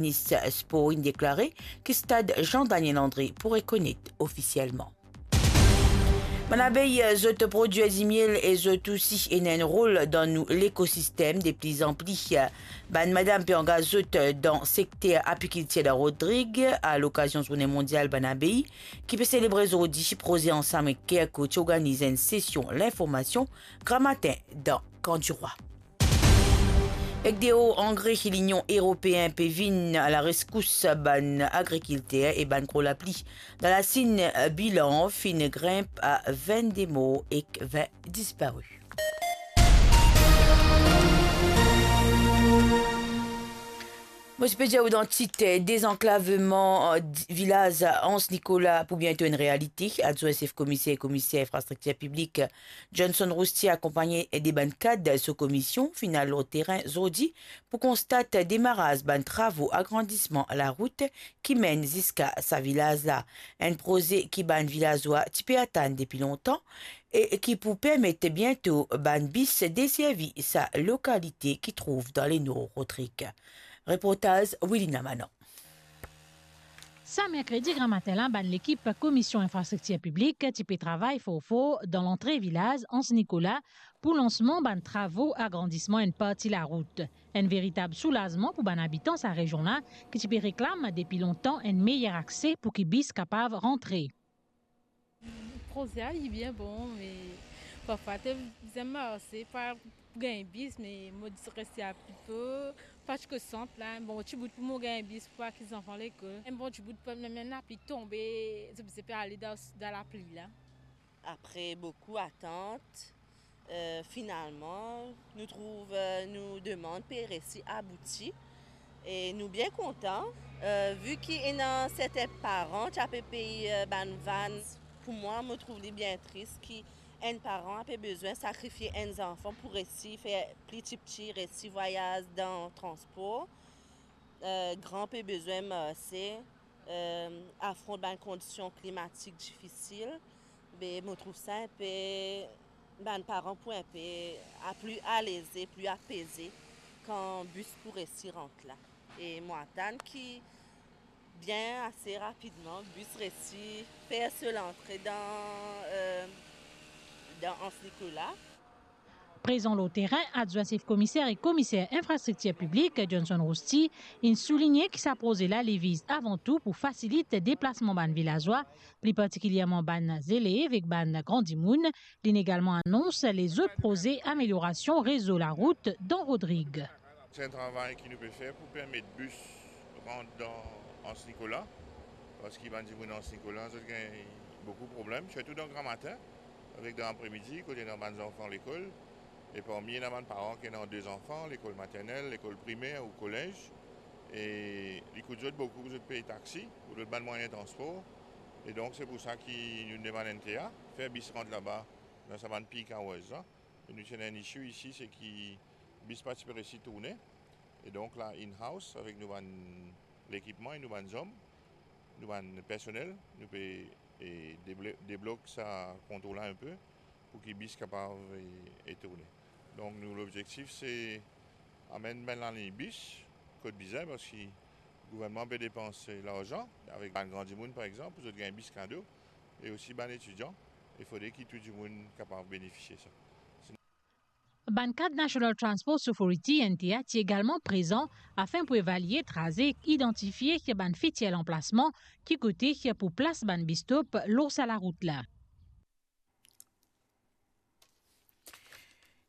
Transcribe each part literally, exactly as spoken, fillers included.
Minis Spor inn deklare ki stad Jean Daniel André pou rekonet ofisielman. Bann abey, zot prodwir dimiel e zot osi ena enn rol dan nou lekosistem. De pli an pli bann madam pe angaz zot dan sekter apikiltir dan Rodrig, a lokazion Zourne Mondial Bann Abey, ki pe selebre zordi. Proze ansam ek Kerco ti organiz enn sesion linformasion gramatin dan Kan Dirwa. Ek deor angre ki Linion Eropeen pe vinn a lareskours bann agrikilter e bann gro lapli dan Lasinn, bilan finn grinp a vennde mor ek vin dispare. Mo ti pe dir ou dan tit, dezanklaveman, eh, di-, vilaz Anse Nicolas pou biento enn realite. Adwin sef komiser, komiser infrastriktir piblik Johnson Roustier akonpagne de bann kad so komisyon finn al lor terin zordi pou konstat demaraz bann travo agrandisman larout ki menn ziska sa vilaz la. Enn proze ki bann vilazwa ti pe atann depi lontan e ki pou permet biento bann bis deservi sa lokalite ki trouv dan lenor Rodrig. Reportaz Wilina Manon. Sa merkredi gramatin la, bann lekip Komisyon Infrastriktir Piblik ti pe travay for for dan lantre vilaz Anse Nicolas pou lansman bann travo agrandisman enn parti larout. Enn veritab soulazman pou bann abitan sa rezyon la ki ti pe reklam depi lontan enn meyer akse pou ki bis kapav rantre. Proze la li bien bon, me parfwa to bizin marse pou al gagn bis, me mo ti reste ape, pa ti kot sant la, enn bon ti bout pou mo gagn bis pou al ki zanfan lekol. Enn bon ti bout pou mem lapli tonbe, zot bizin pe ale dan, dan lapli la. Apre boukou atant, eh, finalman, nou trouv, eh, nou demann pe resi abouti. E nou bien kontan, eh, vi ki ena sertin paran ti ape pey, eh, bann vann. Pou mwa, mo trouv li bien tris ki enn paran ape bizin sakrifie enn zanfan pou resi fer pli tipti, resi vwayaz dan transpor. Eh, gran pe bizin marse, eh, afront bann kondisyon klimatik difisil, be mo trouv sa enpe, bann paran pou enpe a pli aleze, pli apeze kan bis pou resi rant la. E mo atann ki bien ase rapidman, bis resi fer so lantre dan, eh, dan Anse Nicolas. Prezan lor terin, adwin sef komiser e komiser infrastriktir piblik Johnson Roustier inn souligne ki sa proze la li viz avan tou pou fasilit deplasman bann vilazwa, pli partikilyerman bann zelev ek bann gran dimoun. Linn egalman anons lezot proze ameliorasion rezo larout dan Rodrig. Se enn travay ki nou pe fer pou permet bis rant dan Anse Nicolas, parski bann dimoun Anse Nicolas, zot gagn boukou problem, sirtou dan gramatin, avek dan apremidi, kot ena bann zanfan lekol, e parmi ena bann paran ki ena de zanfan, lekol maternel, lekol primer ou kolez, e li kout zot boukou pou zot pey taxi ou lot bann mwayin transpor. E donk, se pou sa ki nou demann N T A, fer bis rant laba dan sa bann peak hours la. E nou ti ena enn issue isi, se ki bis pa ti pe resi tourne. E donk la, in-house, avek nou bann lekipman e nou bann zom, nou bann personel, nou pe, e, deblo-, deblok sa kontrol la enpe pou ki bis kapav, e, e tourne. Donk nou lobzektif se amenn bann laliny bis kot bizin, parski gouvernman pe depans larzan avek bann gran dimoun, par exanp, pou zot gagn bis kado, e osi bann etidian, e fode ki tou dimoun kapav benefisie sa. Bann kad National Transport Authority, N T A, ti egalman prezan afin pou evalie traze ek idantifie bann fitir lanplasman ki kote pou plas bann bis stop lor sa larout la.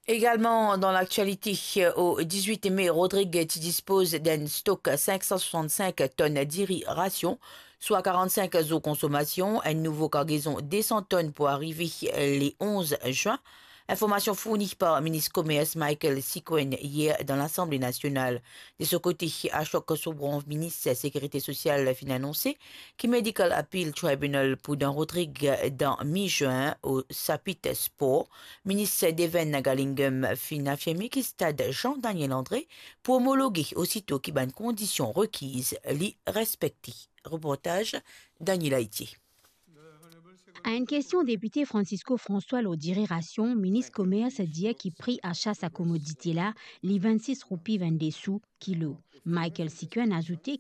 Egalman dan laktialite, o dizwit me, Rodrig ti dispoz d'enn stok sink san swasann-sink tonn diri rasion, swa karant-sink zour konsomasion. Enn nouvo kargezon de san tonn pou arive le onz zwin. Informasion fourni par minis komers Michael Sikuen yer dan Lasanble Nasional. De so kote, Ashok Soubhranv, minis sekirite sosial, finn anonse ki Medical Appeal Tribunal pou dan Rodrig dan mi-zwin. O sapit spor, minis Devan Nagalingam finn afirme ki stad Jean Daniel André pou omologe osito ki bann kondision rekiz li respekte. Reportaz Daniela Itier. A enn kestion depite Francisco François lor diri rasion, minis komers dir ki pri asa sa komodite la, li vennsis roupi vennde sou kilo. Michael Sikuen azoute ki